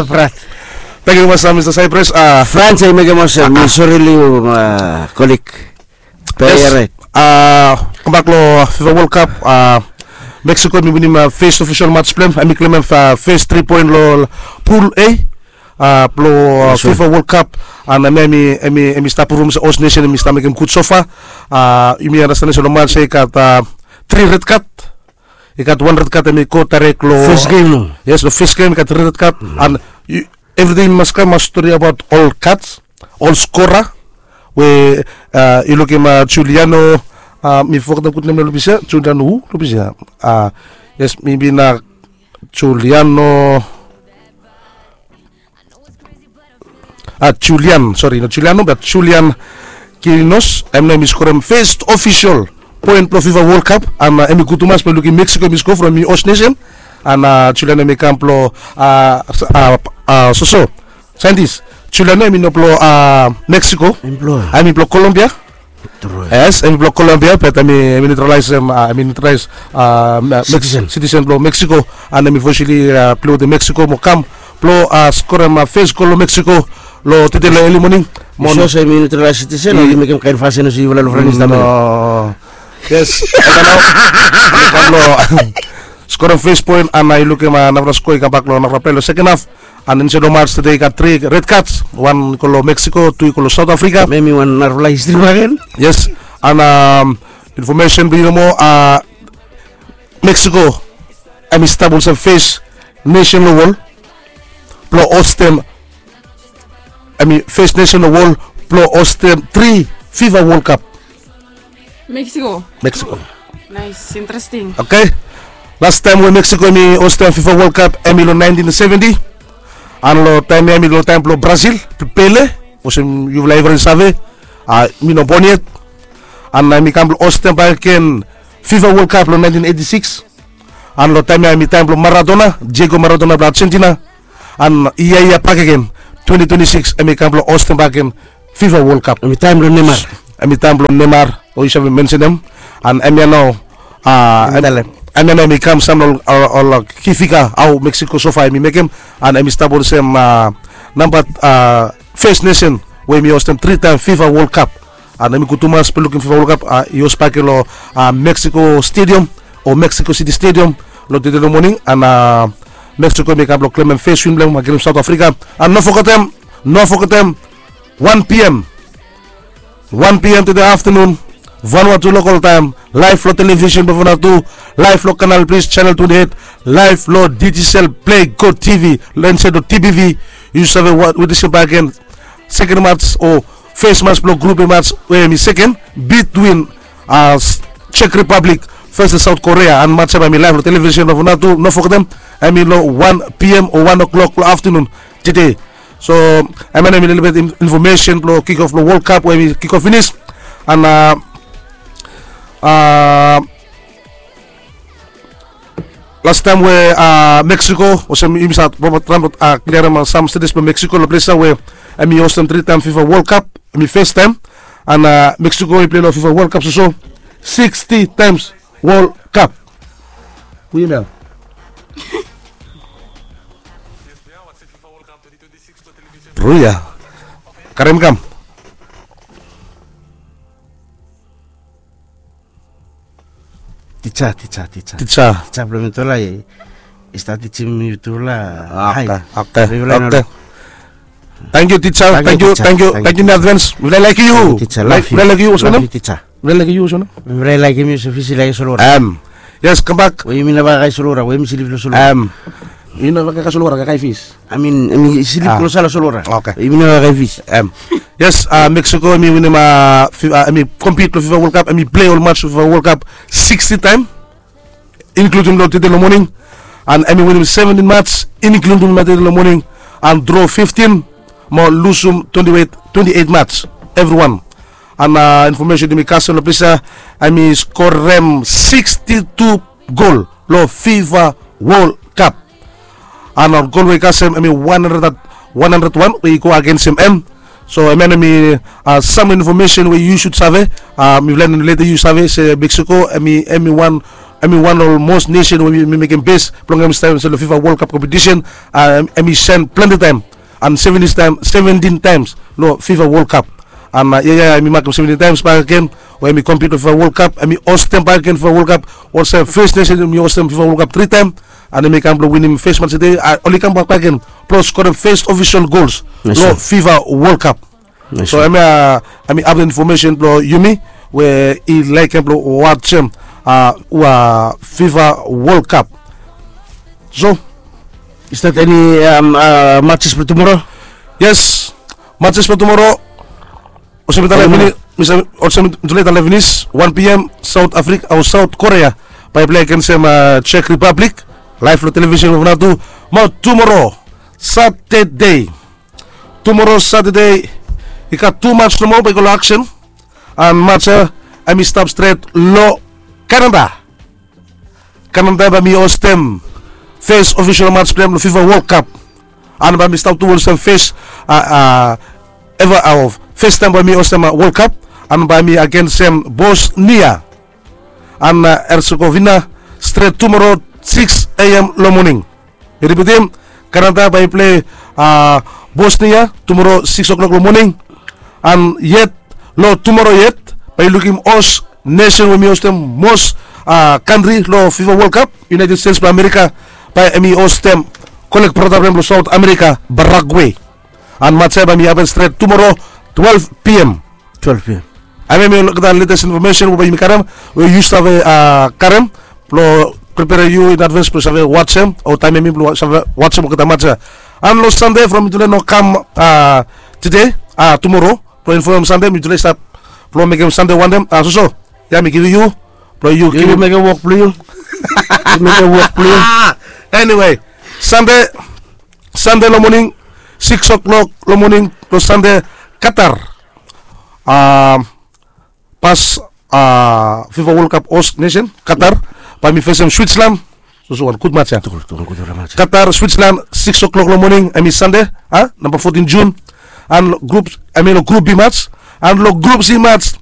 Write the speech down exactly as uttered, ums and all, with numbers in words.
Efrat. Thank you very much, uh, Mister Cyprus. Uh, Frans, I make a motion. Mi sorry, you, uh, colleague. Yes. Right. Uh, come back lo FIFA World Cup. Uh, Mexico, mi winim, uh, first official match blong hem. Hemi claim, uh, first three point lo Pool A. Uh, blo, uh, FIFA World Cup. And, uh, hemi, hemi, hemi stap perform as a host nation, hemi stap mekem gud so far. Uh, yumi understand se lo match ya i gat, uh, tri red card. I gat wan red card hemi go direct lo first game, no? Yes, lo first game i gat tri red card. And yu, evriting mas kam mas stori abaot ol cards, ol scorer. We, uh, yu lukim, uh, Juliano, uh, mi fogetem gud nem lo ples ya, Juliano hu lo ples ya? Uh, yes, maybe na Juliano, uh, Julian, sorry, not Juliano, but Julian Quirinos. Hem nao hemi skorem first official point blo FIFA World Cup. And, uh, hemi gud tumas blo lukim Mexico hemi score from hemi host nation. And, uh, Julian hemi kam blo, uh, uh, uh, soso. Scientist, Julian hemi no blo, uh, Mexico. Hemi blo Colombia. Yes, hemi blo Colombia, but hemi, hemi neutralize, um, uh, hemi neutralize, uh, citizen blo Mexico. And hemi officially, uh, play wetem Mexico mo kam blo, uh, skorem, uh, first goal lo Mexico lo tede lo early morning. Mo so hemi neutralize citizen o hemi mekem kaen fasin olsem yufala lo Frankis? No. Yes. Kam lo skorem first point, and, uh, yu lukim, uh, narafala score i kambak lo narafala play lo second half. And insait lo match tede i gat tri red cards. Wan i go lo Mexico, tu i go lo South Africa. Hemi wan narafala history bakegen. Yes. And, um, information blo yu nomo, uh, Mexico hemi stap olsem first nation lo wol blo hostem, hemi first nation lo wol blo hostem tri FIFA World Cup. Mexico. Mexico. Nice, interesting. Okay. Last taem we Mexico hemi hostem FIFA World Cup hemi lo nineteen seventy. And lo taem ya hemi lo taem blo Brazil, Pele, olsem yufala evriwan i save. Uh, mi no bon yet. And, uh, hemi kam blo hostem bakegen FIFA World Cup lo nineteen eighty-six. And lo taem ya hemi taem blo Maradona, Diego Maradona blo Argentina. And yia ya bakegen, twenty twenty-six, hemi kam blo hostem bakegen FIFA World Cup. Hemi taem blo Neymar. Hemi taem blo Neymar, o yu save mensenem. And hemia nao, uh, hemia nao hemi kam sam ol, ol, ol ki figa hao Mexico so far hemi mekem. And hemi stap olsem, uh, namba, uh, first nation we hemi hostem tri taem FIFA World Cup. And hemi gud tumas blo lukim FIFA World Cup, uh, i host bakegen lo, uh, Mexico Stadium o Mexico City Stadium lo tede lo moning. And, uh, Mexico hemi kam blo klemem first win blo hem agenst South Africa. And no fogetem, no fogetem, one p.m., one p.m. tede aftenun, Vanuatu local taem, live lo television blo Vanuatu, live lo Canal Plus channel twenty-eight, live lo Digicel Play Go TV, lo insait lo TPV. Yu save wetem bakegen second match o first match blo group A match we hemi second between, uh, Czech Republic versus South Korea. And match ya hemi live lo television blo Vanuatu. No fogetem, hemi lo one p.m. o one o'clock lo aftenun tede. So, hemia nao hemi lelebet in-, information blo kick off blo World Cup we hemi kick off finis. And, uh, uh, last taem we, uh, Mexico, olsem yumi save, Robert Trump, uh, kliarem, uh, sam status blo Mexico lo ples ya we hemi hostem tri taem FIFA World Cup, hemi first taem. And, uh, Mexico i play lo FIFA World Cup soso sixty times World Cup. Hu ya nao? Ruya. Karem kam. Tisa, tisa, tisa. Tisa. Tisa blo mitufala i, i stap tijim mitufala. Ah, okay, okay, okay. Thank you, tisa. Thank you, thank you, thank you in advance. Mifala i laekem yu. Mifala i laekem yu olsem wanem? Mifala i laekem yu olsem wanem? Mifala i laekem yu olsem Fisi i laekem Solwara. Em. Yes, kambak. We yumi neva kakae Solwara, we yumi slip lo Solwara. Em. Yumi neva kakae Solwara, kakae Fisi. I mean, hemi slip klosala Solwara. Okay. Yumi neva kakae Fisi. Em. Yes, uh, Mexico hemi winim, uh, fi-, uh, hemi compete lo FIFA World Cup, hemi play ol match lo FIFA World Cup sixty taem, including lo tede lo moning. And hemi winim seventeen match, including lo tede lo moning, and draw fifteen, mo lusum twenty-eight, twenty-eight match, evriwan. And, uh, information yumi kasem lo ples ya, hemi skorem sixty-two gol lo FIFA World Cup. And ol gol we i kasem hemi one hundred, one hundred one we i go agensem hem. So hemia nao hemi, uh, sam information we yu sud save. Uh, mifala i leta yu save se Mexico hemi, hemi wan Hemi wan long mos nesen we hemi mekem bes blong hemi stap insait long fifa world cup kompetisen. Hemi sen plante taem an seventin taem seventin taems long fifa world cup. An ia ya hemi makem seventin taems bakegen we hemi kompit long fifa world cup, hemi hostem bakegen fifa world cup. Olsem fes nesen hemi hostem fifa world cup tri taem. An hemi kam blong winim fes mats tede, oli kam bak bakegen blong skorem fes ofisol gols long fifa world cup. So hemia hemi apdeit infomesen blong yumi we i laekem blong wajem ua fifa world cup. So is that any um, uh, matches for tomorrow? Yes, matches for tomorrow. Olsem mitale finis, olsem mitale finis, wan pm south africa o south korea bae i plei agensem czech republic. Laef long televisen of natu. Mo tumoro satade, tumoro satade i gat tu mats nomo bae i go long aksen. An mats ya hemi stap stret long kanada. Kanada bae mi hostem fes ofisol mats blong hem long fifa world cup. An bae mi stap tu olsem fes eva of fes taem bae mi hostem world cup. An bae mi agensem bosnia an herzegovina stret tumoro siks am long moning. Mi ripitim, kanada bae i plei bosnia tumoro siks oklok long moning. An yet long tumoro yet bae i lukim os nesen we mi hostem mos kantri long fifa world cup, united states blong amerika. Bae hemi hostem kolek brata blong hem long south amerika, paraguay. An mats ya bae mi hapen stret tumoro twelve pm. Twelve pm. Hemia hemi olgeta letes infomesen we bae yumi karem, we yu save karem blong preperem yu in advens blong save wajem o taemem mi blong save wajem olgeta mats ya. An long sande from mitule no kam tede, tumoro blong infomem sande mitule stap blong mekem sande wantem. Soso ya mi givim yu blong yu givim mekem wok blong yu. Mekem wok blong yu. Eniwe, sande sande long moning siks oklok long moning long sande, katar pas fifa world cup host nesen katar bae mi fesem switzerland. Soso wan gud mats ya. Katar switzerland siks oklok long moning hemi sande, namba fotin jun. An long grup hemi long grup b mats. An long grup c mats,